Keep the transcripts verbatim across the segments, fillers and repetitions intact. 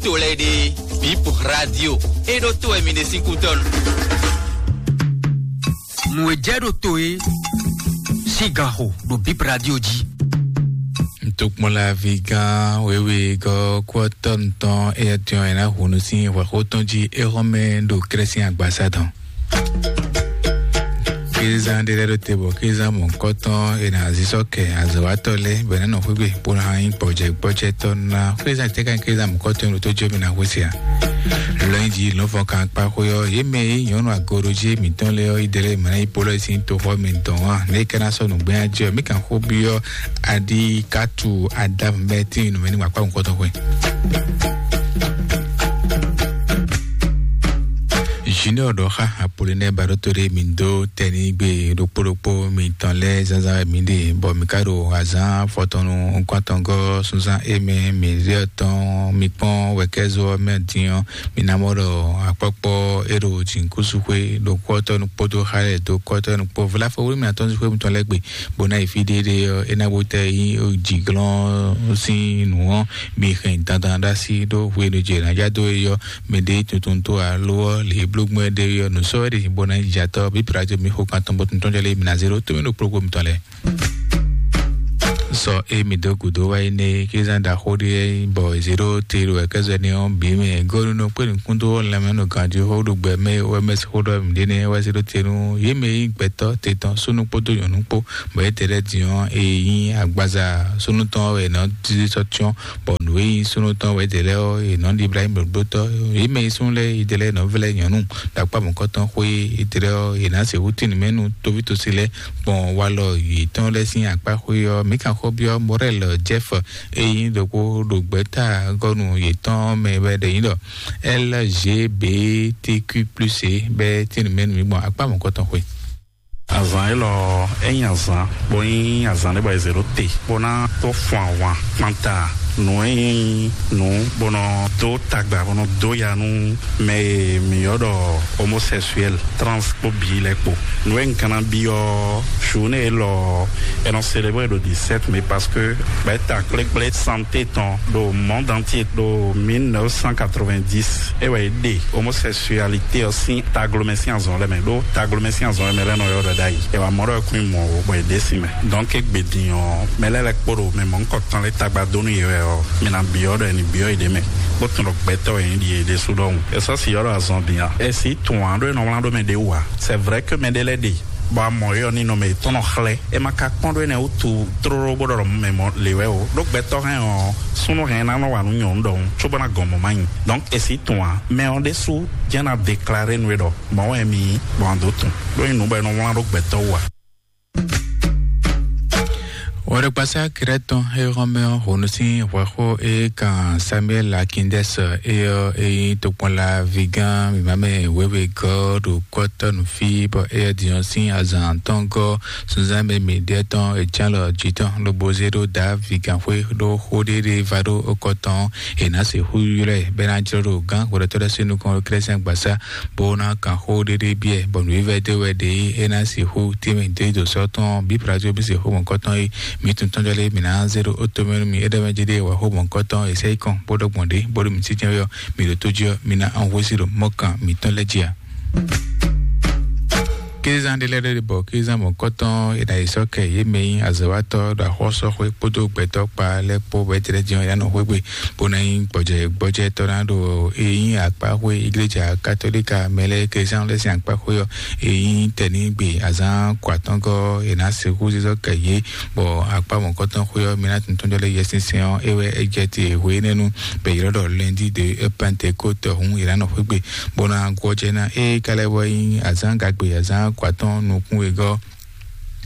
To lɛ́ɛ ɖe, Bip Radio, e ɖo to wɛ mi ɖe sín kútɔ́ nu. Nǔ e jɛ ɖo to e sín gan xo ɖo Bip Radio jí. Ntokpɔnlavi gán wěwe gɔ́ kú ɔ́ tɔ́ nutɔn éyɛ́ tɔn e ná hu nú sín hwɛxó tɔn jí é hɔn mɛ ɖo Krɛ́sín agbasa tɔn. Kézán ɖé lɛ́ɛ ɖó te bɔ kézán mɔ̌hunkɔtɔn è nǎ zí sɔ́ kɛ azɔ̌watɔ́ lɛ́ɛ bɔ è nǎ nɔ xwé gbe bó ná nyí gbɔjɛ́ gbɔjɛ́tɔ́ ná. Kézán tɛ́ ká nyí kézán mɔ̌hunkɔtɔn e ɖo tó jɔ mì ná xwé se ǎ. Lɔnyijǐ lɔ̌nfɔn kan kpá xwé ɔ́, yě mɛ e nyí nyɔ̌nu agorojí mǐtɔn lɛ́ɛ ɔ́, yi ɖe lɛ́ɛ mǐ ná yi polɔ sín toxɔ mǐtɔn ǎ. Nɛ̌ é ka ná sɔ́ nǔgbɛ́nnyá jɛ ɔ́, mǐ kan xó byɔ́ aɖi kátu Adamu bɛ́ tín nǔmɛ ní gbakpá mɔ̌hunkɔtɔn xwé. Junior ɖɔ xá Apolinɛ Baɖótó ɖé mǐ dó tɛnígbe ɖokpó ɖokpó mitɔn lɛ́ɛ zánzán wɛ mǐ ɖe, bɔ mǐ ka ɖo azǎn afɔtɔn nukún-atɔngɔ́ súnzán émɛ mǐ ɖe ɔ́ tɔn. Mi kpɔ́n wɛ̌kɛ́zó ɔ́ mɛ din ɔ́, mi ná mɔ ɖɔ akpɔ́kpɔ́ é ɖo jǐnukúnsin xwé ɖo kɔ́tɔ́nu kpódó xá lɛ́ɛ dó kɔ́tɔ́nu kpó. Vlafɔ wúlú mǐtɔn sín xwé mitɔn lɛ́ɛ gbe, bó ná yi fí ɖéɖé ɔ́, é ná bó tɛ yí jǐglɔ́n sín nǔ ɔ́, mi hɛn dandan ɖó así ɖó hwenu jɛ nǎ já dó é ɔ́, mɛ ɖé tuntun tó alo ɔ́ lě bló gbɔn ɖé ɔ́, nǔ sɔ́ wɛ ɖe bó ná yi jatɔ́ bí Pilato mi xo kan tɔn bó tuntun jɔ lé mi ná zé ɖó tómɛ ɖo kplɔ́kpó mitɔn lɛ́ɛ. Sɔ e mi dó gǔdo wá yi nɛ kí zán ɖaxó ɖé bɔ zéɖó te ɖo ɛkɛzɔ ní ɔ́ bǐ mɛ gɔ́núnú kpé nukúndó lɛmɛ nɔ ganjí xó ɖo gbɛ mɛ wɛ mɛ xó ɖɔ mǐ ɖé nɛ wá zéɖó te nú yě mɛ yí gbɛtɔ́ te tɔn súnú kpódó nyɔ̌nu kpó bɔ é te lɛ́ din ɔ́ e nyí agbaza súnú tɔn wɛ nɔ dí sɔ́ tyɔ́n bɔ nǔ e nyí súnnu tɔn wɛ Delɛ ɔ́, è nɔ ɖi Ibrahim ɖokpótɔ́. Yě mɛ yi súnnu lɛ́ɛ Delɛ nɔ vlɛ́ nyɔ̌nu ɖo akpá mɔ̌kɔtɔn xwé Delɛ ɔ́, è nǎ sixú tín nǔ mɛ nú tóvítósi lɛ́ɛ gbɔn walɔ yětɔn lɛ́ɛ sín akpá xwé ɔ́. Mǐ kan xó byɔ́ Morɛl Jɛ́f e nyí ɖokpó ɖo gbɛ̌ta gɔ́nu yětɔn mɛ wɛ ɖe nyí ɖɔ L G B T Q plus e bɛ́ tín nǔ mɛ nú mǐ gbɔn akpá mɔ̌kɔtɔn xwé. Azǎn élɔ́ é nyí azǎn bó nyí azǎn ɖé bɔ è zě ɖó te bó ná tó fun ahwan kpanta nǔ e nyí nǔ bó nɔ dó tagba bó nɔ dó ya nú mɛ e mǐ ylɔ́ ɖɔ homosexuel, trans kpó bǐ lɛ́ɛ kpo. Nǔ e un ka ná byɔ́ journée élɔ́ è nɔ célébrer ɖo dix-sept mai parce que gbɛ̌ta kplékplé santé tɔn ɖo monde entier ɖo mille neuf cent quatre-vingt-dix é wɛ é ɖe homosexualité ɔ́ sín taglomɛ sín azɔn lɛ́ɛ mɛ ɖó taglomɛ sín azɔn lɛ́ɛ mɛ lɛ́ɛ nɔ ylɔ́ ɖɔ ɖ'ayǐ. È wǎ mɔ ɖɔ é kún nyí mɔ̌ ó, bɔ è ɖe sin mɛ. Donc égbé din ɔ́, mɛ lɛ́ɛ lɛ́ɛ kpo ɖo mɛ mɔ̌hunkɔtɔn lɛ́ɛ tagba dó nú yě wɛ ɔ́, mi ná byɔ́ ɖɔ è nǐ byɔ́ yě ɖ'é mɛ, bó tunwun ɖɔ gbɛtɔ́ wɛ nyí ɖi yě ɖésú ɖɔhun. È sɔ́ si ylɔ́ ɖɔ azɔn din a? È sǐ tunwun ǎ ɖó è nɔ wlán ɖó mɛ ɖě wú ǎ. C'est vrai que mɛ ɖé lɛ́ɛ ɖe bɔ a mɔ yě ɔ́ ní nɔ mɛ yětɔn nɔ xlɛ́. È ma ka kpɔ́n ɖó énɛ́ wútu tlóló bó ɖɔ mɛ mɔ lě wɛ o. Ɖó gbɛtɔ́ hɛn ɔ́, súnnu hɛn ná nɔ wa nú nyɔ̌nu ɖɔhun, cóbó ná gɔn mɔ̌ ma nyi. Donc è sǐ tunwun ǎ. Mɛ ɔ́ ɖésú jɛ́n ná déclaré nú we ɖɔ mɔ̌ wɛ mi yí, bɔ a dǒ tunwun. Ɖó nyí nǔ bɔ è nɔ wlán ɖó gbɛtɔ́ wú ǎ. Wɔɖɛkpasá Krɛ́tɔn e hɔn mɛ ɔ́ honu sín hwɛxó e kan Samuel Akindɛs e ɔ́ e nyí tokpɔnla vigán mǐmá mɛ wěwe gɔ́ ɖo kɔ́tɔ́ nǔ fí bɔ éyɛ́ din ɔ́ sín azǎn tɔn gɔ́ sunzán mɛ mǐɖɛɛ tɔn e ján lɔ jǐ tɔn lobo zé ɖó Davídi gǎnxwé ɖó xó ɖé ɖé va ɖó okɔ tɔn ɔ́, è nǎ sixú ylɔ́ ɛ bɔ é ná jlɔ́ ɖo gǎn hwɛɖɔtɔ́ lɛ́ɛ sín nukɔn ɖo Klɛ́sɛn gbasá bó ná kan xó ɖéɖé byɔ́ ɛ, bɔ nǔvívɛ́ dó wɛ ɖe é ná sixú tɛ́nmɛ dó yi dǒ sɔ́ tɔn bí Pilato bí sixú mɔ̌kɔtɔn é mǐ tun tɔn jɔ lé mǐ ná zé ɖó ótomɛ nú mi é ɖɔ mɛ jí ɖé wǎ xó mɔ̌kɔtɔn è sɛ́ yi kɔn bó ɖɔ gbɔn ɖě bó ɖo mǐ tínjɛ́n wɛ ɔ́, mǐ ɖo tó jí ɔ́, mi ná an hwesí ɖo mɔ̌ kan mǐtɔn lɛ́ɛ jí ǎ. Kézán ɖé lɛ́ɛ ɖé bɔ kézán mɔ̌kɔtɔn è nǎ yi sɔ́ kɛ yě mɛ nyí azɔ̌watɔ́ ɖo axɔ́sɔ́xwé kpódó gbɛtɔ́ kpa lɛ́ɛ kpó bɔ é tlɛ́ jɛ́n ɔ́, è nǎ nɔ xwé gbe bó ná nyí gbɔjɛ gbɔjɛtɔ́ ná ɖo e nyí akpáxwé igleja katolíka mɛ lɛ́ɛ kézán lɛ́ɛ sín akpáxwé ɔ́, e nyí tɛnígbe azán kɔ atɔ́ngɔ́ è nǎ sixú zízɔ́ kɛ yě bɔ akpá mɔ̌kɔtɔn xwé ɔ́, mi ná tuntun jɔ lé Yɛsinsɛn ɔ́, é wɛ é jɛ te hwe énɛ́ nu bɔ è ylɔ́ ɖɔ lundi de Pentecôte hǔn è nǎ nɔ xwé gbe bó ná gɔ́ jɛ ná. Ée ka lɛ́ vɔ nyí azǎn gagbe azǎn kɔ atɔn nukún wegɔ́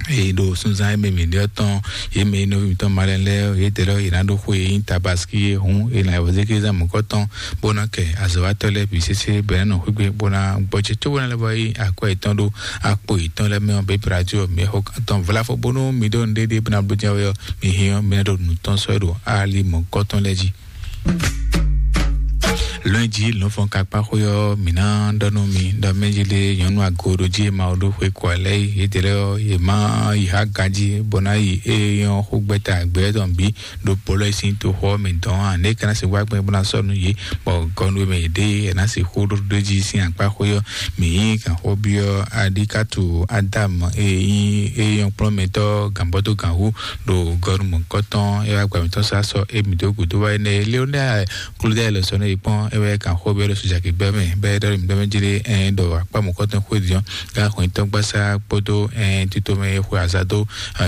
e ɖo sunzán e mɛ mǐ ɖe ɔ́ tɔn, yě mɛ e nɔví mǐtɔn malɛ lɛ́ɛ yě dɛ lɔ yě ná ɖó xwe e nyí tabaski é hǔn è nǎ wɔ zé kézán mɔ̌kɔtɔn bó ná kɛ azɔ̌watɔ́ lɛ́ɛ bǐ sésé bɔ é ná nɔ xwé gbe bó ná gbɔjɛ cóbó ná lɛ́ vɔ yí akwɛ́ yětɔn ɖó akpo yětɔn lɛ́ɛ mɛ ɔ́, běbradio mɛ xo tɔn vlafɔ bónú mi ɖó nǔɖéɖé bó ná bló jɛ́n wɛ ɔ́, mi hɛn ɔ́, mi ná ɖo nǔ tɔn sɔ́ ɛ ɖo ali mɔ̌kɔtɔn lɛ́ɛ jí. Lɔnji lɔnfɔn kakpa xó yɔ mǐ ná ɖɔ nú mi ɖɔ mɛjele nyɔnu agoɖo jí ma ɖó xwe kɔ lɛ yi yedele ɔ ye ma yi ha ganji bɔ ná yi e yɔn xó gbɛta gbɛ tɔn bí ɖo polo sin to xɔ mɛ dɔn a ne kana se wa gbɛ bɔ na sɔ nu ye bɔ gɔnu mɛ de e na se xó ɖo ɖo jí sin akpa xó yɔ mi yi kan xó bi ɔ adi katu adam e yi e yɔn kplɔn mɛ tɔ gambɔ to gan wu ɖo gɔnu mɔ kɔtɔn e wa gba mi tɔn sa sɔ e mi do gudo wa ne leonel Klodɛ lɛ sɔ ne yi kpɔn e wɛ kan xó bɛ lɛ sɔ jaki gbɛ mɛ bɛ dɔ mi gbɛ mɛ jele ɛn dɔ akpa mɔ kɔtɔn xó diɔn ga xɔ tɔn gbasa kpodo ɛn tito mɛ xɔ azado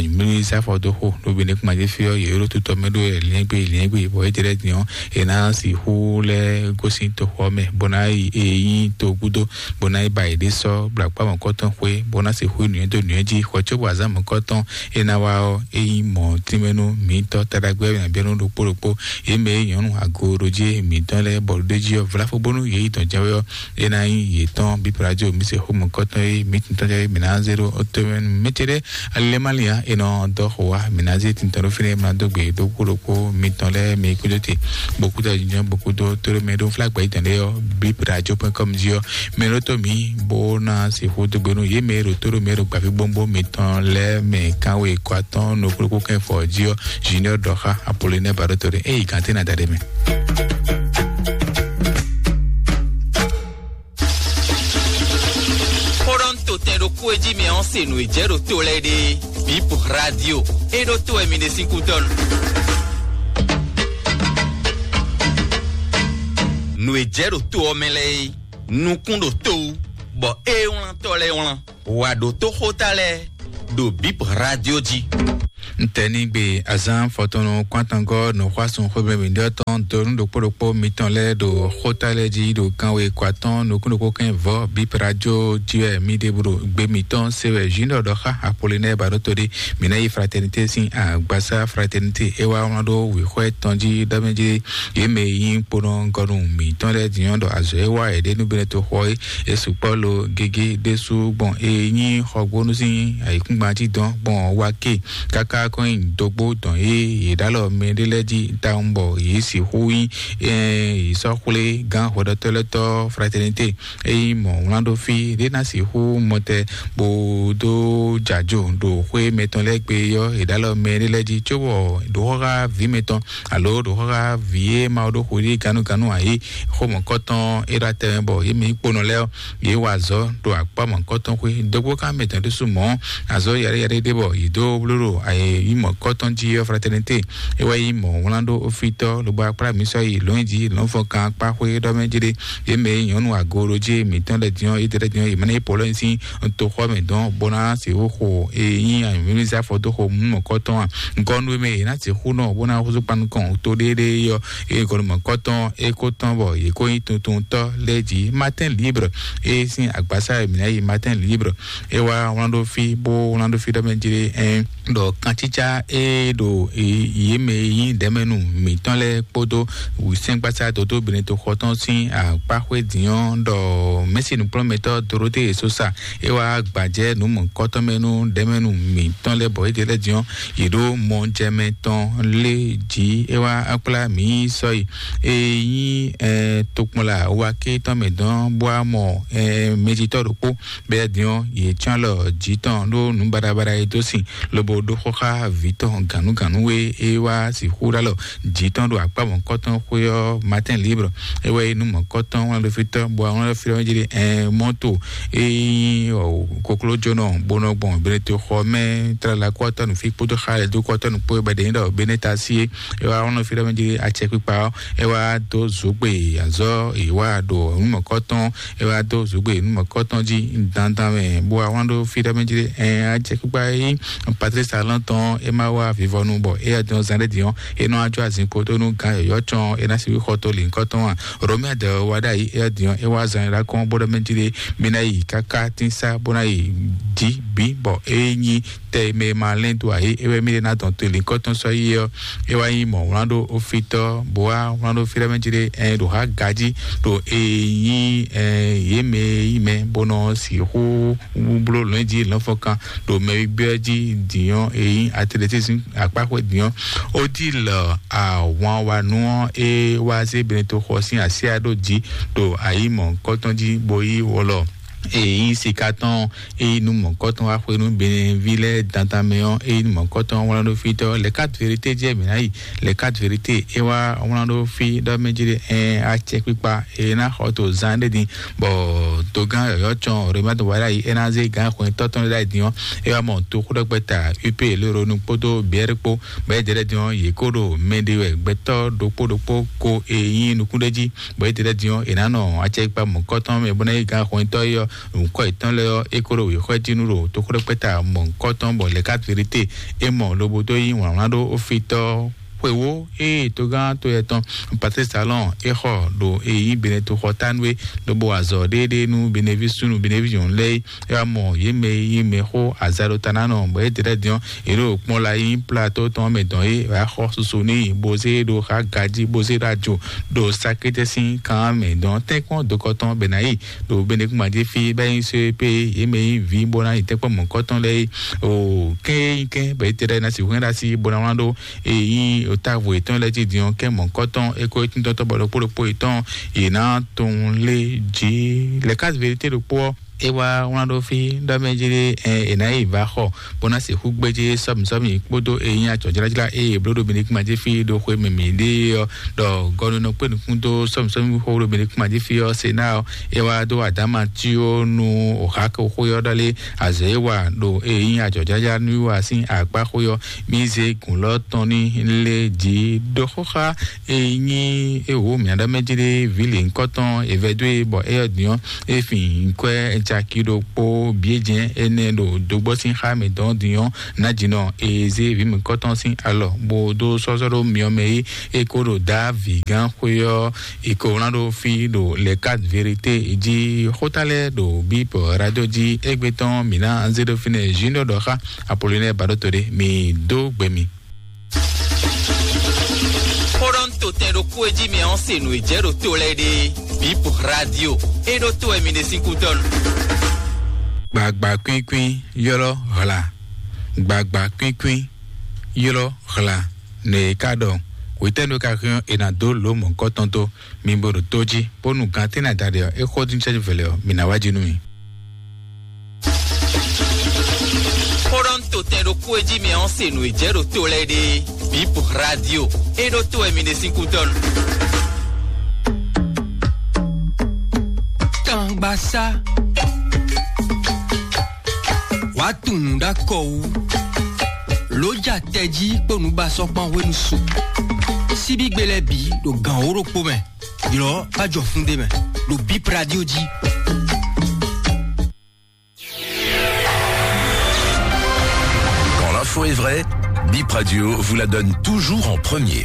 mili safɔ do xó do bi ne kuma je fi ɔ ye ro tutɔ mɛ do liɛngbe liɛngbe bɔ e jele diɔn e na si xó lɛ gosi to xɔ mɛ bɔ na yi e yi to gudo bɔ na yi ba yi de sɔ bla akpa mɔ kɔtɔn xó bɔ na si xó nuyɛ do nuyɛ ji xɔ tso bɔ azan mɔ kɔtɔn e na wa ɔ e yi mɔ tínmɛnu mǐtɔn taɖagbé mɛ bíɔ́nú ɖokpó ɖokpó yě mɛ e nyɔ̌nu agoɖojí mǐtɔn lɛ́ɛ bɔ ɖó jí ɔ́ vlafo bónú yě yi dɔn jɛ́n wɛ ɔ́, é ná nyí yětɔn bíbrajo mǐ se xomɔkɔtɔn e mǐ tintɔn jɛ mǐ ná zé ɖó ɔtɔmɛnu mɛtɛɖɛ alilɛmalia e nɔ dɔ xo wa mǐ ná zé tintɔn ɖó fínɛ́ mǐ ná dó gbe ɖokpó ɖokpó mǐtɔn lɛ́ɛ mǐ kúdó te bó kúdó jínjɔ́n bó kúdó tóɖó mɛ ɖó flágbɛ yi dɔn ɖé ɔ́ bíbrajo pɔ́n kɔm jí ɔ́ mɛ ɖó tó mǐ bó ná sixú dó gbe nú yě mɛ e ɖo tó ɖo mɛ e ɖo gbǎví gbɔngbɔn mǐtɔn lɛ́ɛ mɛ kánwé kɔ atɔ́ɔ́n nukúnnukún kɛ́n fɔ jí ɔ́, Junior Dɔxa Apollinaire Baɖótɔ́ ɖé. Ényí gǎn tɛ́ ná da ɖe mɛ. Xó ɖɔ un to tɛn ɖokpó e jí mi ɔ́ se nǔ e jɛ ɖo to lɛ́ɛ ɖe. Bip Radio. E ɖó to wɛ mi ɖe sín kútɔ́ nu. Nǔ e jɛ ɖo to ɔ́ mɛ lɛ́ɛ é, nukún ɖo to wú, bɔ é wlán tɔ́ lɛ́ɛ wlán. Wa ɖo tó xóta lɛ́ɛ ɖo Bip Radio jí. Ntɛnigbe azán fɔtɔnnu kpántangɔ nɔxɔasun xwebɛmídɔ tɔn donu ɖokpó ɖokpó mitɔn lɛ́ɛ ɖo xóta lɛ́ɛ jí ɖo kanwe kɔ atɔn nukún ɖokpó kɛn vɔ Bip Radio jí wɛ mí ɖe blo gbe mitɔn se wɛ Junior Dɔxa Apollinaire Baɖótó ɖe. Mǐ ná yi Fraternité sín agbasa Fraternité é wá wlán ɖó wěxɔ tɔn jí ɖɔ mɛ jí yě mɛ e nyí kponɔgɔnu mǐtɔn lɛ́ɛ din ɔ́ ɖɔ azɔ̌ e wa yě ɖe nú Benɛto xɔ é, é sukpɔ́ lo gégé ɖésú gbɔn e nyí xɔgbónú sín ayǐkúngban jí dɔn gbɔn wá ké káká kɔn nyi dógbó dɔn e yě ɖó alɔ mɛ ɖé lɛ́ɛ jí tawun bɔ yě sixú nyí yě sɔ́ xwlé gán hwɛɖɔtɔ́ lɛ́ɛ tɔ́ Fraternité. Ényí mɔ̌ wlán ɖó fí ɖé ná sixú mɔtɛ bó dó jǎjo ɖo xwé mɛtɔn lɛ́ɛ gbe ɔ́, è ɖó alɔ mɛ ɖé lɛ́ɛ jí, cóbɔ ɖǒxɔ́xá vǐ mɛtɔn alo ɖǒxɔ́xá vǐ e Mawu ɖó xo ɖi gannúgannú ǎ é, xó mɔ̌kɔtɔn é ɖo atɛ mɛ bɔ yě mɛ nyí kponɔ lɛ́ɛ ɔ́, yě wa azɔ̌ ɖo akpá mɔ̌kɔtɔn xwé. Dógbó ká mɛtɔn ɖésú mɔ̌, azɔ̌ yaɖé yaɖé ɖé bɔ yě dó bló ɖo ayǐ mɔ̌kɔtɔn jí ɔ́, Fraternité é wɛ nyí mɔ̌ wlán ɖó ofítɔ́ lobo akplá mǐ sɔ́ yi lɔ̌nyijǐ lɔ̌nfɔkan akpá xwé ɖɔ mɛ jí ɖé. Yě mɛ e nyɔ̌nu agoɖojí mǐtɔn lɛ́ɛ din ɔ́, yě ɖɛɖɛ din ɔ́, yě mɛ ná yi pɔ̌lɔ́ nyi sín toxɔ mɛ dɔn bó ná se xó xo e nyí anyǔmímízá fɔdó xo mú mɔ̌kɔtɔn a. Gɔ́nú e mɛ yě ná se xó nɔ bó ná húzú kpan nukɔn to ɖéeɖée ɔ́, e gɔnu mɔ̌kɔtɔn é kó tɔn bɔ yě kó nyí tuntuntɔ́ lɛ́ɛ jí. Matin Libre e sín agbásá e mǐ ná yi Matin Libre é wá wlán ɖó fí bó wlán ɖó fí ɖɔ mɛ jí ɖé ɛn ɖɔ kancícá e ɖo yě mɛ e nyí ɖɛ̌mɛnu mǐtɔn lɛ́ɛ kpódó wǔsɛ́ngbasá dodó Benɛto xɔ tɔn sín akpáxwé din ɔ́ ɖɔ mɛ̌si nǔkplɔ́nmɛtɔ́ Dorothée Sosa é wá gbajɛ nǔ mɔ̌kɔtɔn mɛ nú ɖɛ̌mɛnu mǐtɔn lɛ́ɛ bɔ é ɖe lɛ́ɛ din ɔ́, yě ɖó mɔjɛmɛ tɔn lé jí é wá kplá mǐ sɔ́yi e nyí tokpɔnla wa ké tɔn mɛ dɔn bó wá mɔ mɛjitɔ́ ɖokpó bɛ́ din ɔ́, yě cyɔ́n alɔ jǐ tɔn ɖó nǔ baɖabaɖa e dó sin lobo ɖó xó xá vǐ tɔn gǎnúgǎnú e é wá sixú ɖó alɔ jǐ tɔn ɖo akpá mɔ̌kɔtɔn xwé ɔ́. Matin Libre é wɛ nyí nú mɔ̌kɔtɔn wlán ɖo fí tɔn bɔ wlán ɖo fí tɔn jí ɖe ɛn mɔ́to e nyí koklójónɔ bó nɔ gbɔn Benɛto xɔ mɛ tlala kɔ́tɔ́ nǔ fí kpódó xa lɛ́ dó kɔ́tɔ́ nǔ kpó bɔ ɖě nyí ɖɔ Benɛta sí é é wá wlán ɖo fí tɔn jí acɛkpikpa ɔ́ é wá dó zǒgbe azɔ́ è wá ɖo nǔ mɔ̌kɔtɔn é wá dó zǒgbe nú mɔ̌kɔtɔn jí dandan mɛ bó wá wlán ɖó fí ɖɔ mɛ jí ɛ ajɛ kpíkpá é nyí Patrice Talon tɔn é má wá vivɔnu bɔ é yá dɔn zan ɖé din ɔ́ é nɔ ajɔ azinkpo tó nú gán yɔ̌yɔ́ cɔn é ná sixú xɔ tó lǐnkɔ́ tɔn a. Romia dɔ wá ɖ'ayǐ é yá din ɔ́ é wá zan ɖá kɔn bó ɖɔ mɛ jí ɖé mí ná yi káká tín sá bó ná yi jí bǐ bɔ é nyí tɛ e mɛ e ma lɛ́n dó ǎ é, é wɛ mí ɖe ná dɔn to lǐnkɔ́tɔn sɔ́ yi ɔ́, é wá nyí mɔ̌ wlán ɖó ofítɔ́, bó wá wlán ɖó fí ɖɔ mɛ jí ɖé ɛ ɖo há ka jí ɖo e nyí yě mɛ e nyí mɛ bó nɔ sixú bló lɔ̌nyijǐ lɔ̌nfɔkan ɖo mɛ e gbé ɔ́ jí dǐnyɔ́ e nyí atletisme akpáxwé dǐnyɔ́. Odile Ahwanwanu ɔ́, é wá zé Benetoxɔ sín asyá ɖó jǐ ɖo ayǐ mɔ̌hunkɔtɔn jí bó yí wɔlɔ e nyí sika tɔn ɔ́, e nyí nú mɔ̌hunkɔtɔn wá xwé nú Benɛví lɛ́ɛ dandan mɛ ɔ́, e nyí nú mɔ̌hunkɔtɔn wlán ɖó fí tɔn. Les Quatre Vérités jɛ mǐ ná yi. Les Quatre Vérités é wá wlán ɖó fí ɖɔ mɛ jí ɖe ɛn acɛkpikpa e ná xɔ to zán ɖé din, bɔ dogán yɔ̌yɔ́ cɔn Romuald Wadagni é ná zé gǎn xwɛntɔ́ tɔn ɖé ɖ'ayǐ din ɔ́, é wá mɔ toxóɖɔgbɛ́ta U P Léronu kpódó Biɛ́r kpó, bɔ é jɛ lɛ́ɛ din ɔ́, yě kó ɖo mɛ ɖe wɛ gbɛtɔ́ ɖokpó ɖokpó ko e nyí nukúnɖéjí, bɔ é jɛ lɛ́ɛ din ɔ́, è nǎ nɔ acɛkpikpa mɔ̌kɔ́tɔn mɛ bó ná yi gǎn xwɛntɔ́ é ɔ́, nǔkɔ yětɔn lɛ́ɛ ɔ́, é kó ɖo wěxɔ́ jí nú ɖo toxóɖɔgbɛ́ta mɔ̌hunkɔtɔn, bɔ Les Quatre Vérités é mɔ lobo dó yí wlǎnwlán ɖó ofitɔ́ xwewó ée togán to yɛ tɔn Patrice Talon é xɔ ɖo e nyí Benetoxɔ tánú é, lobo wa azɔ̌ ɖéeɖée nú Beneví súnnu Beneví nyɔ̌nu lɛ́ɛ é. É wá mɔ yě mɛ e nyí mɛxó azaɖotanánɔ, bɔ yě dlɛ́ din ɔ́, yě ɖo kpɔ́n la nyí plato tɔn mɛ dɔn é, wǎ xɔ susu n'i, bó zé ɖo xá gají, bó zé ɖo ajo ɖo sakétɛ́ sín kan mɛ dɔn tɛ́nkpɔ́n dokɔ tɔn bɛ ná yi ɖo Benekuma jí fí bá nyí só pé yě mɛ nyí vǐ bó ná yi tɛ́nkpɔ́n mɔ̌kɔ́tɔn lɛ́ɛ é. O kɛ́n e nyí kɛ́n bɔ yě tɛ ɖɔ é ná sixú hɛn ɖo así bó ná wlán ɖó e nyí távo yětɔn lɛ́ɛ jí din ɔ́, kɛ́n mɔ̌kɔ́tɔn é kó tíntɔ́tɔ́ bɔ ɖokpó ɖokpó yětɔn yě ná tunwun lé jí. Les Quatre Vérités ɖokpó ɔ́, é wá wlán ɖó fí ɖɔ mɛ jí ɖé ɛ è nǎ yi va xɔ bó ná sixú gbéjé sɔ́mǐsɔ́mǐ kpódó e nyí acɔ̌jlájlá e è bló ɖo Benekuma jí fí ɖo xwe mǐmí ɖé ɔ́, ɖɔ gɔnunɔ kpé nukún dó sɔ́mǐsɔ́mí xó ɖo Benekuma jí fí ɔ́, se ná ɔ́, é wá dó adǎma cí ó nú òhákexó ɔ́ ɖɔ lé azɔ̌ e wa ɖo e nyí ajɔ̌jǎjá nú wa sín akpá xó ɔ́, mí zé gǔn lɔ́ tɔn ní lé jǐ ɖó xóxá e nyí e wǒ mǐa ɖɔ mɛ jí ɖé vǐ lě nyǐkɔ tɔn è vɛ́ dó e bɔ éyɔ́ din ɔ́, é fin nyǐkɔ ɛ caki ɖokpó bǐ é jɛ́n énɛ́ ɖo dǒgbɔ́ sín xá mǐtɔn din ɔ́, ná jǐ nɔ e zé vǐ mǐkɔtɔn sín alɔ bó dó sɔ́sɔ́ ɖó myɔ mɛ é, é kó ɖo dǎ vǐgán xwé ɔ́, è ko wlán ɖó fí ɖo Les Quatre Vérités jí. Xóta lɛ́ɛ ɖo Bíbɔ Radio jí égbé tɔn mǐ ná zé ɖó fínɛ́ Junior ɖɔ xá Apollinaire Baɖóto ɖé, mǐ dó gbe mi. Xó ɖɔ un to tɛn ɖokpó e jí mi ɔ́ se nǔ e jɛ ɖo to lɛ́ɛ ɖe. Bíbɔ Radio é ɖó to wɛ mi ɖe sín kútɔ́ nu. Gbagba kwínkwín ylɔ́ hla. Gbagba kwínkwín ylɔ́ hla. Nɛ e ka ɖɔ hwetɛ́nu ka hɛn è nǎ dó lǒ mɔ̌hunkɔtɔn tó, mi bo ɖo tó jí, bónú gan tɛ́ nɛ adaɖé ɔ́, é xó dín cɛ́jú vɛlɛ ɔ́, mi ná wá jí nú mì. Xó ɖɔ un to tɛn ɖokpó e jí mi ɔ́ se nǔ e jɛ ɖo to lɛ́ɛ ɖe. Bíbɔ Radio é ɖó to wɛ mi ɖe sín kútɔ́ nu. Tangbasá. Wàá tunwun ɖó akɔ wú. Lǒ ja tɛjí kpó nǔbasɔ́ kpán hwenu su. Síbígbe lɛ́ɛ bǐ ɖo gǎn wó ɖokpó mɛ. Ylɔ̌ bá jɔ fún ɖé mɛ ɖo Bip Radio jí. Quand l'info est vraie, Bip Radio vous la donne toujours en premier.